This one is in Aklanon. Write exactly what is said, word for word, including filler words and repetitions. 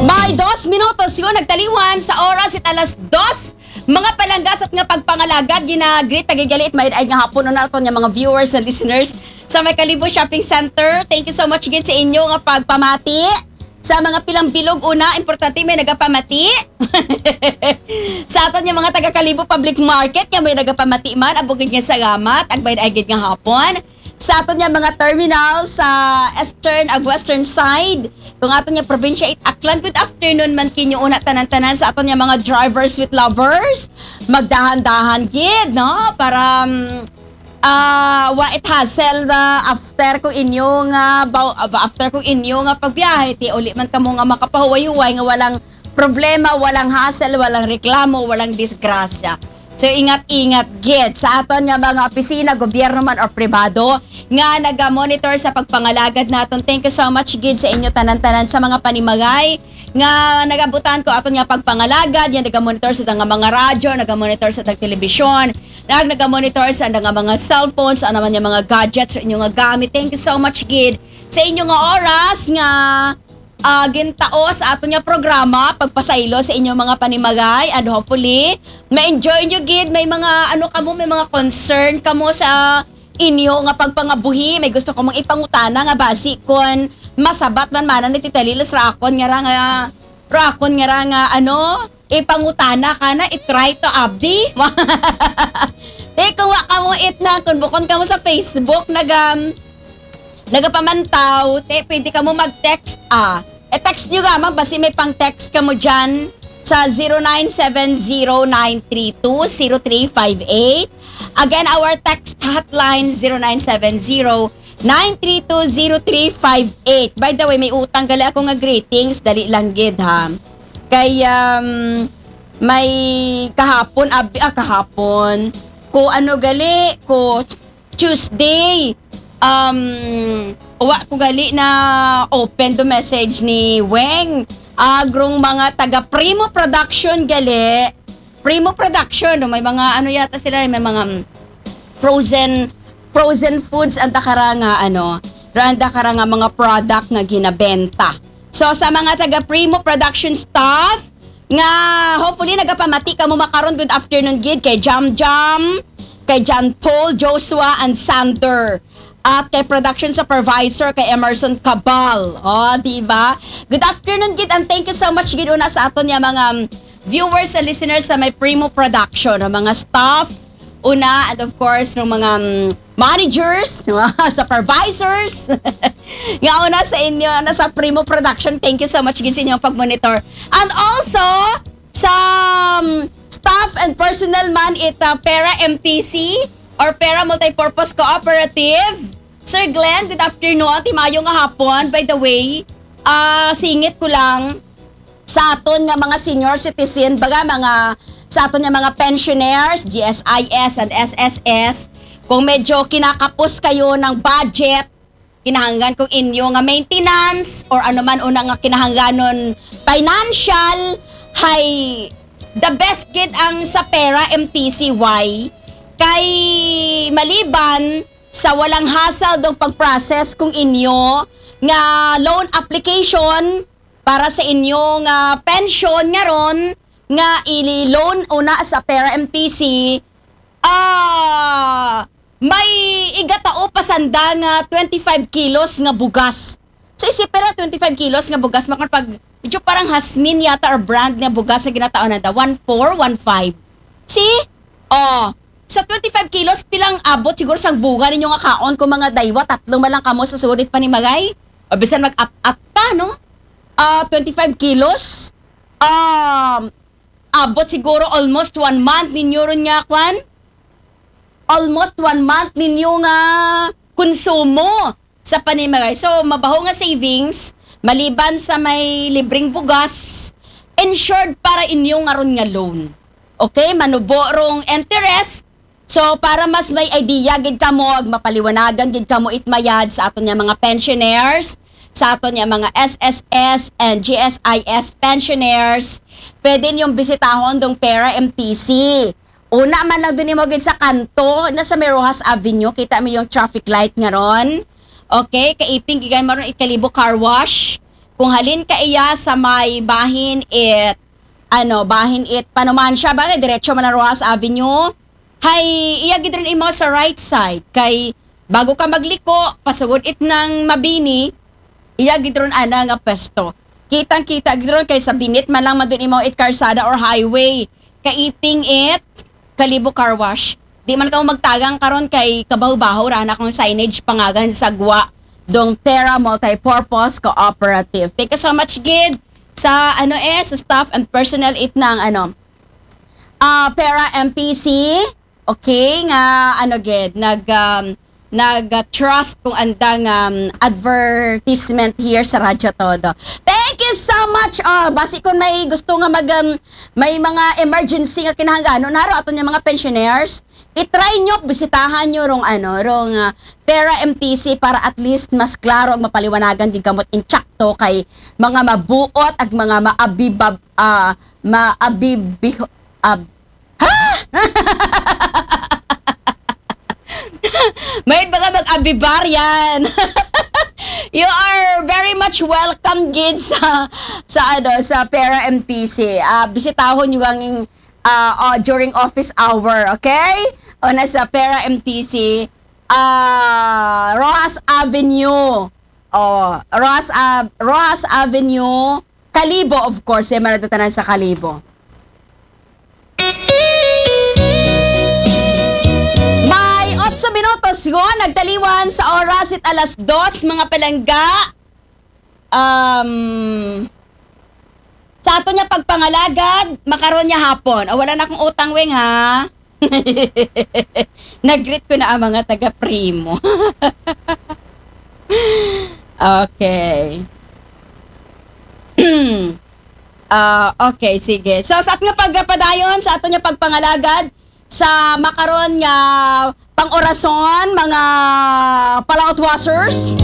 May dos minutos yun nagtaliwan sa oras it alas dos. Mga palangga sa aton nga pagpangalagad, gina-greet ta gid gali it may-ada nga hapon una aton nga mga viewers and listeners sa may Kalibo Shopping Center. Thank you so much gid sa inyo nga pagpamati. Sa mga pilang bilog una, importante may nagapamati. Sa aton nga mga taga Kalibo Public Market, nga may nagapamati man, abo gid nga salamat, ag may-ada gid nga hapon. Sa aton nga mga terminal sa eastern ag western side, kung aton nga probinsya it Aklan, good afternoon man kinyo una tanan-tanan. Sa aton nga mga drivers with lovers, magdahan-dahan gid, no? Para, mm, ah, wa it hassle na after kung inyo nga baw-, ah, after kung inyo nga pagbiyahe, ti uli man kamo nga makapahuway-huway nga walang problema, walang hassle, walang reklamo, walang disgrasya. So, ingat-ingat gid sa aton nga mga opisina, gobyerno man or pribado, nga naga-monitor sa pagpangalagad naton. Thank you so much gid sa inyo tanan-tanan sa mga panimagay nga nagabutan ko aton nga pagpangalagad, nga naga-monitor sa nga mga radyo, naga-monitor sa tag telebisyon, nag naga-monitor sa nga mga cellphones, ano man nga mga gadgets sa inyo nga gamit. Thank you so much gid sa inyo nga oras nga ah, gintao sa aton nga programa, pagpasaylo sa inyong mga panimagay, and hopefully ma-enjoy nyo gid. May mga ano kamo, may mga concern kamo sa inyo nga pagpangabuhi, may gusto kamong ipangutana nga basi kon masabat man mana ni Tita Lilis ra akon nga ra nga, ra akon nga ra nga ano, ipangutana kana, i-try to abdi. Te, kung wa kamo it na, kung bukon kamo sa Facebook, nag, um, nagapamantaw, te, pwede kamo mag-text, ah. E-text nyo gamang, basi may pang-text kamo dyan sa zero nine seven zero nine three two zero three five eight. Again, our text hotline, zero nine seven zero nine three two zero three five eight. By the way, may utang gali ako nga greetings, dali lang gid ha. Kay, um, may kahapon, abi, ah, kahapon, ko ano gali, ko Tuesday, um, wa ko gali na open to message ni Weng. Agrong mga taga Primo Production gali. Primo Production, no? May mga ano yata sila, may mga, mm, frozen, frozen foods, ang dakara nga ano, ang dakara nga mga product nga ginabenta. So, sa mga taga Primo Production staff, nga hopefully nagapamati kamo makaron, good afternoon gid kay Jam Jam, kay John Paul, Joshua, and Sander. At kay production supervisor kay Emerson Cabal. Oh, di ba? Good afternoon gid and thank you so much gid una sa aton nga mga, um, viewers and listeners sa may Primo Production, ang mga staff, una, and of course, ng mga, um, managers, mga supervisors. Nga una sa inyo, na sa Primo Production, thank you so much gid sa inyong pag-monitor. And also, sa, um, staff and personnel man it, uh, Pera M P C or Pera Multipurpose Cooperative. Sir Glenn, good afternoon. Ti mayo nga hapon. By the way, ah, singit ko lang sa aton nga mga senior citizen, baga mga, sa aton nga mga pensioners, G S I S and S S S, kung medyo kinakapos kayo ng budget, kinahanglan kung inyo nga maintenance or ano man una nga kinahanglanon financial, hay the best gid ang sa Pera M T C Y. Kay maliban sa walang hassle dong pag-process kung inyo nga loan application para sa inyo nga pension nga ron nga i-loan una sa Pera M P C, ah, may igatao pa sanda nga twenty-five kilos nga bugas. So, isipira twenty-five kilos nga bugas, makon pag, medyo parang Jasmine yata or brand nga bugas nga ginatao nanda, one four, one five. See? Oh, sa twenty-five kilos, pilang abot siguro sang bunga ninyo nga kaon kung mga daywa, tatlo man lang kamo sa sulit panimagay? O bisan mag-up-up pa, no? Ah, twenty-five kilos, um, abot siguro almost one month ninyo ron nga, kwan? Almost one month ninyo nga konsumo sa panimagay. So, mabaho nga savings, maliban sa may libreng bugas, insured para inyo nga ron nga loan. Okay? Manubo rong interest. So, para mas may idea gid kamo, ag mapaliwanagan gid kamo it mayad sa aton nga mga pensioners, sa aton nga mga S S S and G S I S pensioners, pwede ninyong bisitahon dong Pera M P C. Una man lang dun imo gid sa kanto, na sa may Roxas Avenue, kita mo yung traffic light nga ron. Okay, kaiping gigay maron it Kalibo Car Wash. Kung halin ka iya sa may bahin it, ano, bahin it Panumancia, bagay, diretso man ang Roxas Avenue. Hay, iya gid run imaw sa right side. Kay, bago ka magliko, pasugod it nang Mabini, iya gid run ana nga pwesto. Kitang-kita gid run kay sa binit man lang man dun imaw it karsada or highway. Kaiping it Kalibo Car Wash. Di man kamo magtagang karon kay kabaho-baho ra na kung signage pangagan sa gwa dong Pera Multipurpose Cooperative. Thank you so much gid sa ano eh sa staff and personnel it ng ano ah Pera M P C. Okay, nga ano gid nag um, nag uh, trust kung andang um, advertisement here sa Radyo Todo. Thank you so much. Oh, basi kung may gusto nga mag um, may mga emergency nga kinahanglanon haro ato niya mga pensioners, i-try nyo, bisitahan nyo rong ano, rong uh, Pera M T C para at least mas klaro ag mapaliwanagan gid kamot intsakto kay mga mabuot ag mga maabibab uh, maabibih ab, ha? Mayroon ba ka mag-abibar yan? You are very much welcome gid sa sa ano sa Pera M T C. Ah, bisitahon nyo ang ah, oh, during office hour, okay? O nasa Pera M T C, ah, Roxas Avenue. Oh, Roxas, Ave- Roxas Avenue, Kalibo, of course. Yan man ang tatanan sa Kalibo. May otso minutos yun, nagtaliwan sa oras it alas dos, mga palangga. Um, sa ato niya pagpangalagad, makaron niya hapon. O, wala na akong utang, Weng, ha? Nag-greet ko na ang mga taga-Primo. Okay. Ah, okay, sige. So, sa ato nga pagpadayon, sa ato niya pagpangalagad, sa makaron nga pang-orason, mga palautwasers.